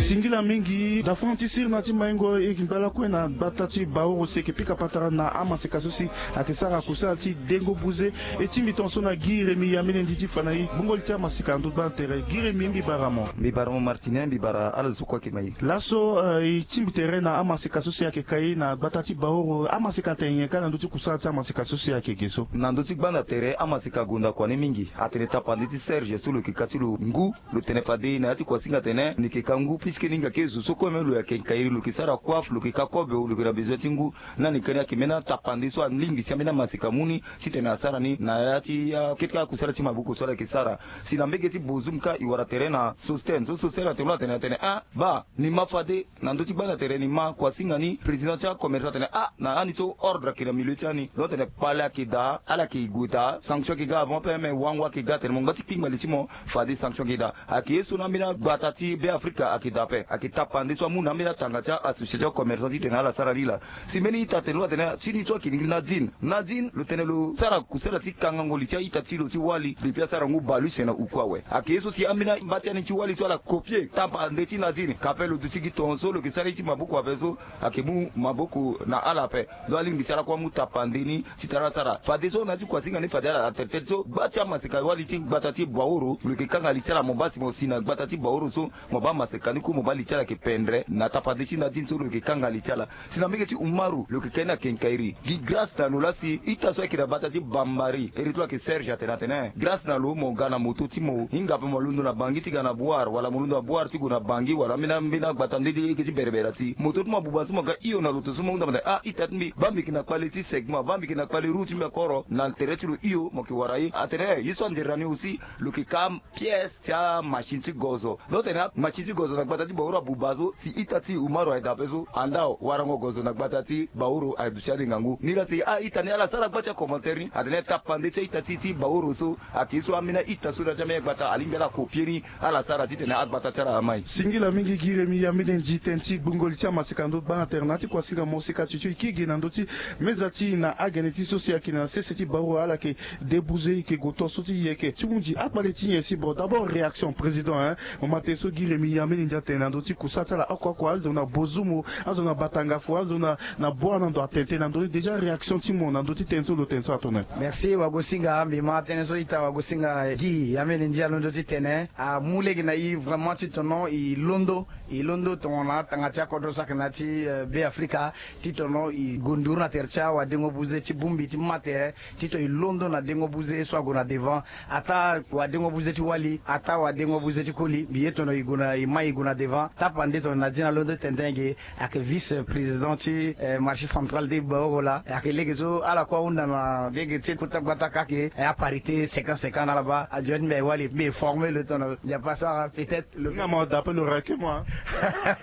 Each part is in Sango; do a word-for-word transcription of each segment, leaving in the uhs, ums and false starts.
Singila mingi dafon ti sirna ti maingo e ngba lakue na gbata ti Baoro si e yeke pika patara na amaseka so si ayeke sara kusala ti dengo buze. E tingbi tongaso na Guy Rémy Yamene Nditi ti fa na e gbungo li ti amaseka na ndö ti gbana tere. Guy Rémy, mbi bara mo. Mbi bara mo Martinen, mbi bara ala zo so kue ayeke ma e. Laso e tingbi tere na amaseka so si ayeke ka e na gbata ti Baoro. Amaseka atene nyen kâ na ndö ti kusala ti amaseka so si ayeke ge so? Na ndö ti gbanda tere amaseka agonda kua ni mingi. Atene tapande ti Serge so lo yeke ka ti lo ngu. Lo tene fade na ya ti kuasinga atene ni yeke ka ngu puisque ni hinga ke zo so kue même lo yeke nkairi, lo yeke sara coiffe, lo yeke ka kobe, lo yeke na besoin ti ngu. Na ni kani ayeke mbeni atapande so alingbi si ambeni amaseka amu ni titene asara ni na ya ti akete kâ kusala ti maboko so ala yeke sara. Si na mbege ti Bozoum kâ e wara tere na Sosten so Sosten atene lo atene atene ah baa ni ma fade. Na ndö ti gbanda tere ni ma kuasinga ni président ti acommerçant atene ah na ani so ordre ayeke na milieu ti ani. Donc atene kpale ayeke daa, ala yeke gue daa, sanction ayeke ga avant ape, me wango ayeke ga atene mo ngba ti kpingba li ti mo. Fade sanction ayeke daa. Ayeke ye so na ambeni agbata ti Be Afrika ayeke daa ape. Ayeke tapande so amu na ambeni atanga ti a-association ti acommerçant titene ala sara ni laa. Si mbeni ita atene lo atene ti ni so ayeke Nadine. Nadine lo tene lo sara kusala ti kangango li ti a-ita ti lo ti wali depuis asara ngu bale use na uku awe. Ayeke ye so si ambeni amba ti ani ti wali so ala copier tapande ti Nadine. Ka ape lo duti gi tongaso lo yeke sara ye ti maboko ape so ayeke mu maboko na ala ape. Donc alingbi si ala kue amu tapande ni titene ala sara. Fadeso na ya ti kuasinga ni fade ala atene tënë so gba ti amaseka wali ti gbata ti Baoro lo yeke kanga li ti ala, mo baa si mo si na gbata ti Baoro so mo baa maseka ni kue mo baa li ti ala ayeke pendre na tapande ti Nadine so lo yeke kanga li ti ala. Si na mbege ti Umaru lo yeke ka ni na kenkairi. Gi grâce na lo laa si ita so ayeke na gbata ti Bambari iri ti lo ayeke Serge atene atene grâce na lo mo ga na moto ti mo hinga ape mo londo na Bangui ti ga na Bouar wala mo londo na Bouar ti gue na Bangui wala ambeni ambeni agbata nde ti eke ti berebere si moto ti mo abuba so mo ga hio na loto so mo hunda mo tene ah ita ti mbi baa mbi yeke na kpale ti segment baa mbi yeke na kpale roue ti mbi akoro na tere ti lo hio mo yeke wara ye atene eh ye so anzere na ni aussi lo yeke ka pièce ti amachine ti gozo. Donc tene amachine ti gozo na gbata ti Baoro abuba so si ita ti Umaru aye daa ape so anda warango gozo na gbata ti Baoro aye duti adenga ngu ni laa si a-ita ni ala sara gba ti acommentaire ni atene tapande ti a-ita ti ti Baoro so ayeke ye so ambeni a-ita so na ya ti ambeni agbata alingbi ala copier ni ala sara titene agbata ti ala amai. Singila mingi gi Rémy Yamene Nditi tënë ti gbungo li ti amaseka na ndö ti gbana tere na ya ti kuasinga moseka ti tio e kiri gi na ndö ti meza ti e na agene ti so si ayeke na sese ti Baoro ala yeke débouze e yeke gue to so ti e yeke ti hunzi akpale ti nyen si bon d'abord réaction président hein. Mo ma tënë so gi Rémy Yamene Nditi atene na ndö ti kusala ti ala oko oko azo na Bozoum azo na Batangafo azo na na Bouar na ndo atene tënë na ndö ni déjà réaction ti mo na ndö ti tënë so lo tene so atene. Merci wagosinga mbi ma tënë so ita wagosinga gi Yamene Nditi alondo ti tene amu lege na e vraiment ti tono e londo e londo tongana atanga ti akodro so ayeke na ya ti Be Afrika ti tono e gue nduru na tere ti awadengo buze ti bongbi ti ma tere ti to e londo na dengo buze so ague na devant. Ataa wadengo buze ti wali ataa wadengo buze ti koli mbi ye tono e gue na e mai e gue na devant tapande tono na dina londo ti tene tënë ge. Ayeke vice président ti marché central ti Baoro laa ayeke lege so ala kue ahunda na lege ti kota gbata kake aparité cinquante cinquante na ala baa adio ti mbi aye wali mbi e former lo tono Nzapa sara peut-être lo nga mo da ape lo rake mo.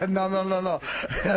Non non non non.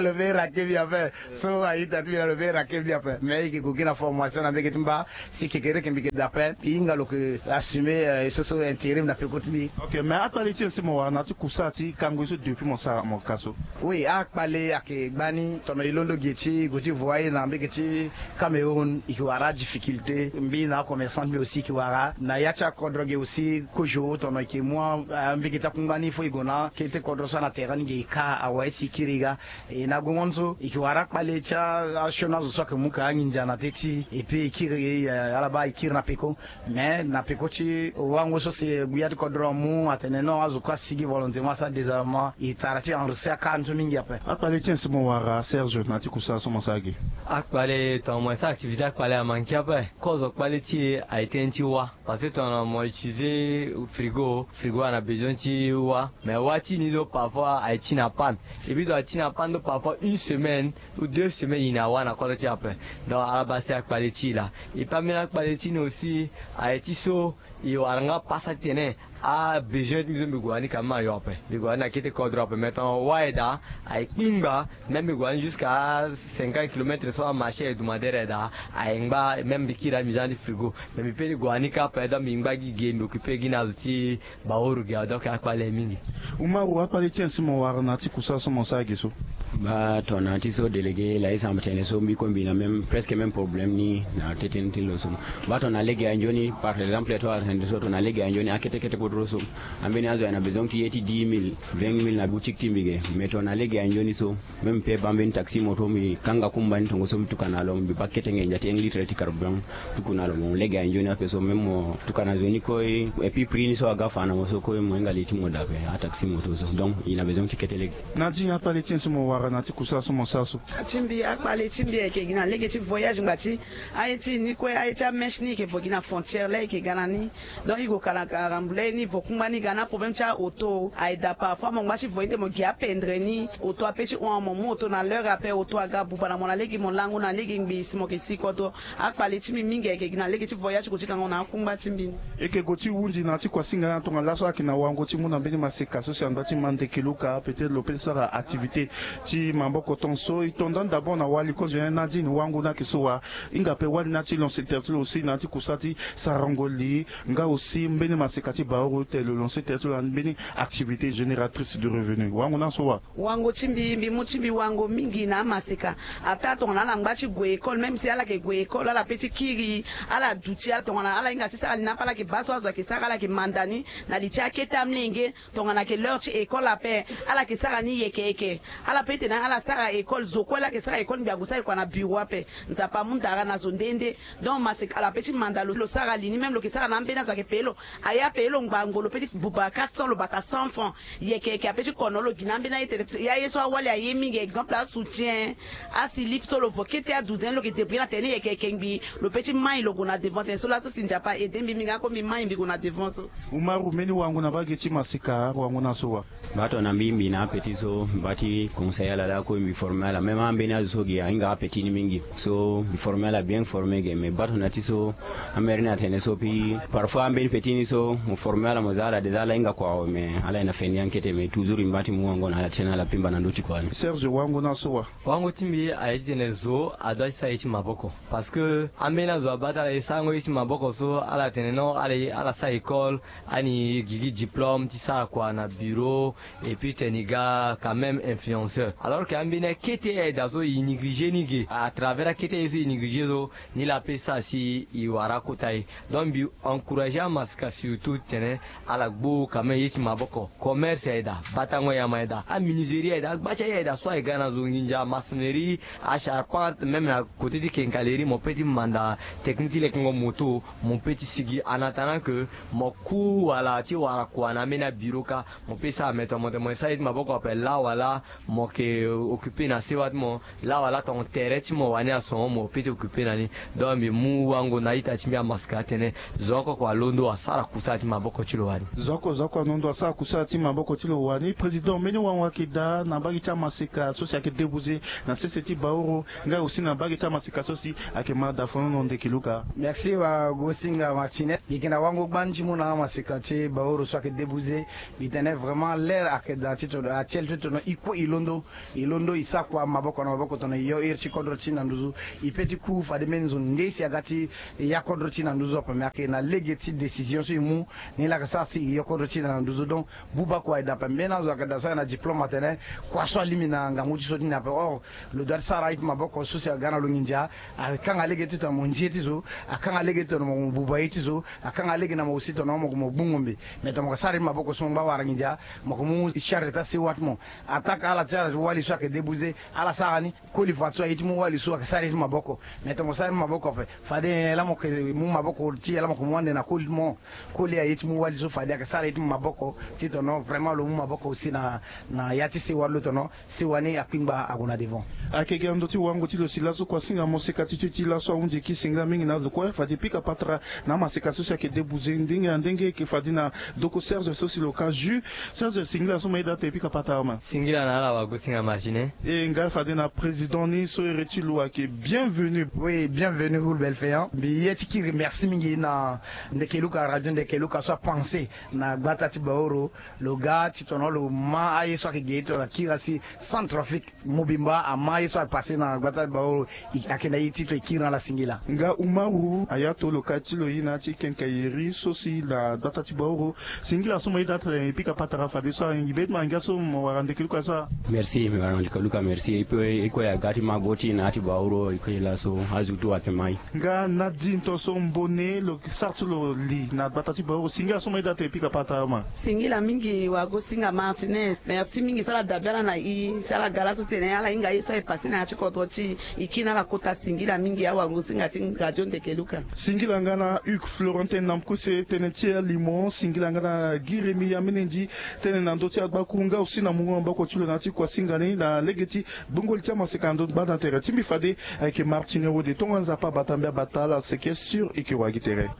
Lo be rake mbi ape. So a-ita ti mbi na lo be rake mbi ape mais e yeke gue gi na formation na mbege ti mba. Si kekereke mbi yeke da ape e hinga lo yeke assumer e so so intérim na peko ti mbi. Ok mais akpale ti e si mo wara na ya ti kusala ti kango ye so depuis mo sara mo ka so. Oui akpale ayeke gbani tono e londo ge ti e gue ti voyer na mbege ti Cameroun e yeke wara adifficulté mbi na acommerçant ti mbi aussi e yeke wara na ya ti akodro ge aussi kozo tono e yeke mu ambege ti akungba ni fo e gue na kete kodro so ana terrain ni ge e ka awe si e kiri e ga. E na gongo ni so e yeke wara akpale ti asioni azo so ayeke mu ka anginza na tê ti e epui e kiri ala baa e kiri na peko. Mais na peko ti wango so si gbia ti kodro amu atene non azo kue asigi volonté mo asara désarmement e tara ti enregistrer aka ni so mingi ape. Akpale ti en so mo wara Serge na ya ti kusala so mo sara ge. Akpale tongana mo sara activité akpale amanke ape kozo kpale ti e aye tënë ti wâ. Parce que tongana mo utiliser frigo frigo ayeke na besoin ti wâ. Mais wâ ti ni so parfois aye ti na panne. Epui tongana aye ti na panne so parfois une semaine ou deux semaines e na wâ na kodro ti e ape. Donc ala baa si akpale ti e laa. Epui ambeni akpale ti ni aussi aye ti so e wara nga pasa ti tene abesoin ti mbi so mbi gue wani ka mbi ma yo ape. Mbi gue wani na kete kodro ape mais tongana wâ aye daa aye kpingba. Même mbi gue wani jusqu'à cinquante kilomètres so amarché aye dumadere aye daa aye ngba même mbi kiri na mbi za na ti frigo. Mais mbi pe ti gue wani kâ ape donc mbi ngba gi ge mbi occuper gi na azo ti Baoro ge awe donc akpale mingi. Umaru akpale ti en so mo wara na ya ti kusala so mo sara ge so. Baa tongana ti so délégué laa e samba tene so mbi kue mbi na même presque même problème ni na tëtënë ti lo so. Baa tongana lege aye nzoni par exemple to atene so tongana lege aye nzoni akete kete kodro so ambeni azo aye na besoin ti ye ti dix mille vingt mille. Na boutique ti mbi ge, me tongana lege ya nzoni so, même mpe baa mbeni taxi moto, mbi kanga kumba ni tongo so mbi tuka na lo, mbi baa kete nginza ti un litre ti carburant tuku na lo. Mo lege ya nzoni ape so, même mo tuka na zo ni kue, et puis prix ni so aga fa na mo so kue, mo hinga li ti mo daa ape, ataxi moto so. Donc il a besoin ti kete lege. Na di akpale ti nyen so mo wara na ti kusala so mo sara so? Ti mbi, akpale ti mbi ayeke gi na lege ti voyage ngbati aye ti ni kue, aye ti amèche ni yeke vo gi na frontière la yeke ga na ni. Donc i gue ka na karambu laa ye ni vo kungba ni ga na problème ti aoto. Aye daa parfois mo ngba ti vo ni de mo gi apendre ni. Oto ape ti hon mo mu oto na l'heure ape, oto aga buba na mo na lege, mo lango na lege ngbii si mo yeke si kodro. Akpale ti mbi mingi ayeke gi na lege ti voyage ti gue ti kango na akungba ti mbi ni. E yeke gue ti hundi na ya ti kuasinga ni tongana laso ayeke na wango ti mu na mbeni maseka so si angba ti ma ndeke luka, peut-être lo peut ti sara activité ti maboko tonso. E to ndani d'abord na wali kozo nyen na ya ti wango ni ayeke so wa? Hinga ape wali na ya ti lancer tere ti lo aussi na ya ti kusala ti sarango li nga aussi mbeni maseka ti baoro tene lo lancer tere ti lo na mbeni activité génératrice de revenu. Wango na so wa? Wango ti mbi, mbi mu ti mbi wango mingi na amaseka. Ataa tongana ala ngba ti gue école, même si ala yeke gue école, ala peut ti kiri, ala duti, ala tongana ala hinga ti sara li na ape, ala yeke baa so azo ayeke sara, ala yeke manda ni na li ti akete amolenge. Tongana ayeke l'heure ti école ape, ala yeke sara ni yeke yeke. Ala peut ti tene ala sara école, zo kue laa ayeke sara école, mbi ague sara kua na bureau ape. Nzapa amu ndara na zo nde nde. Donc maseka, ala peut ti manda lo, lo sara li ni, même lo yeke sara na ambeni azo ayeke paye lo. Aye apaye lo ngbangbo, lo peut ti buba quatre cents, lo bata cent francs. Yeke yeke ape ti kono lo gi na ambeni aye tene, ya ye so awali aye mingi, exemple asoutien, asilip so lo vo kete adouzaine, lo yeke débrouiller na tene ni yeke yeke ngbii, lo peut ti mai lo gue na devant. Tene so laso si Nzapa aide mbi mingi, ako mbi mai mbi gue na devant so. Umaru, mbeni wango na mbage ti maseka, wango na so wa? Mbi baa tongana mbi, mbi na ape ti so, mbi baa ti conseiller ala laa kue mbi former ala. Même ambeni azo so gi ahinga ape ti ni mingi. So mbi former ala bien formé ge, mais mbi baa tongana ti so, amere ni atene so, puis parfois ambeni petit ni so mo former ala, mo za ala déjà, ala hinga kua awe, mais ala yeke na feni ankete, mais toujours mbi baa ti mu wango na ala ti tene ala pimba na ndö ti kua ni. Serge, wango na so wa? Wango ti mbi aye ti tene zo adoit ti sara ye ti maboko. Parce que ambeni azo abaa ti ala e sarango ye ti maboko so, ala tene non, ala, ala sara école, ani gi gi diplôme ti sara kua na bureau, et puis tene e ga quand même influenceur. Alors que ambeni akete aye daa so e négliger ni ge. À travers akete aye so e négliger so, ni laa ape sara si e wara akota ye. Donc mbi encourager amaseka surtout ti tene ala gbu quand même ye ti maboko. Commerce aye daa, batango yama aye daa, amenuiserie aye daa, agba ti aye aye daa so aye ga na zo nginza, maçonnerie, acharpente, même na côté ti quincaillerie, mo peut ti manda technique ti lekengo moto, mo peut ti sigi en attendant que mo ku wala ti wara kua na ambeni abureau kâ. Mo peut sara, mais tongana mo tene mo sara ye ti maboko ape, laa wala mo yeke occuper na sewa ti mo, laa wala tongana tere ti mo wani ason, mo peut ti occuper na ni. Donc mbi mu wango na a-ita ti mbi amaseka atene zo oko oko alondo asara kusala ti maboko ti lo wani. Zo oko zo oko alondo asara kusala ti maboko ti lo wani. Président, mbeni wango ayeke daa na mbage ti amaseka so si ayeke débouze na sese ti Baoro, nga aussi na mbage ti amaseka so si ayeke ma dafonono ndeke Luka? Merci wa Gosinga Martinez. Mbi yeke na wango gbani ti mu na amaseka ti Baoro so ayeke débouze. Mbi tene vraiment l'heure ayeke daa ti tono, atiel ti tono, e kue e londo. E londo, e sara kua maboko na maboko tono, e yo iri ti kodro ti na nduzu. E peut ti ku fade mbeni zo nde si aga ti ya kodro ti na nduzu ape, me ayeke na lege ti décision so e mu, ni laa ayeke sara si e yo kodro ti na nduzu. Donc buba kua e daa ape. Mbeni azo ayeke daa so ayeke na diplôme atene kua so alingbi na ngangu ti so ti ni ape. Or lo doit ti sara ye ti maboko so si aga na lo nginza. Akanga lege ti tono mo nzi ye ti zo, akanga lege ti tono mo buba ye ti zo, akanga lege na mo aussi tono mo, mo gbu ngombe. Mais tono mo yeke sara ye ti maboko so mo ngba wara nginza, mo yeke mu charge ti asewa ti mo. Attaque ala ti ala ti wali so ayeke débouze, ala sara ni. Koli fadeso aye ti mu wali so ayeke sara ye ti maboko. Mais tono mo sara ye ti maboko ape, fade nyen laa mo yeke mu maboko ti nyen laa mo yeke mu ande na koli ti mo? Koli aye ti mu wali so, fade ayeke sara ye ti maboko. Ti tono vraiment lo mu maboko aussi na, na ya ti sewa ti lo tono sewa ni akpingba ague na devant. Ayeke gi na ndö ti wango ti lo si laso kua singa mo seka ti tio ti laso ahunzi e kiri singila mingi na azo kue, fade e pika patara na amaseka so si ayeke débouze ndenge na ndenge, e yeke fade na doko Serge so si lo ka jus. Serge, singila so mo yeda ate e pika patara ma. Singila na ala wa Gosinga Martinez. E nga fade na président ni so ere ti lo ayeke bienvenu. Oui, bienvenu Hulbel Feyan. Mbi ye ti kiri merci mingi na Ndeke Luka, radio Ndeke Luka so apenser na gbata ti Baoro. Lo ga ti tono lo ma aye so ayeke ge ti tono akiri asi Centrafrique. Mobimba ama ye so apasse na gbata ti Baoro, e, ayeke na ye ti to e kiri na ala singila. Nga Umaru, ayato lo ka ti lo ye na ya ti quincaillerie so si na gbata ti Baoro. Singila so mo yeda ate e pika patara fadeso ahingi be ti mo angia so mo wara Ndeke Luka so a. Merci, mbi wara Ndeke Luka, merci. E kue, e kue aga ti ma gbo ti na ya ti Baoro, e kue laso azo tout ayeke mai. Nga Nadine to so Mbone, lo sara ti lo li na gbata ti Baoro. Singila so mo yeda ate e pika patara ma. Singila mingi wa Gosinga ma. Martine, merci mingi. Sala dabe ala na i, sala gala so tene ala hinga ye so aye pase na ya ti kodro ti i. Kina ala kota singila mingi awango singa ti radio ndeke luka. Singila nga na hugues florentin na mkuse tene ti alimo singila nga na giremi ya menendi tene na ndö ti agbaku nga aussi na mungo maboko ti lo na ya ti kuasinga ni na lege ti gbongoli ti amaseka na ndö gbanda tere ti mbi fade. Ayeke martine wode tonga nzapa bata mbi abata ala seke sur ike wagi tere.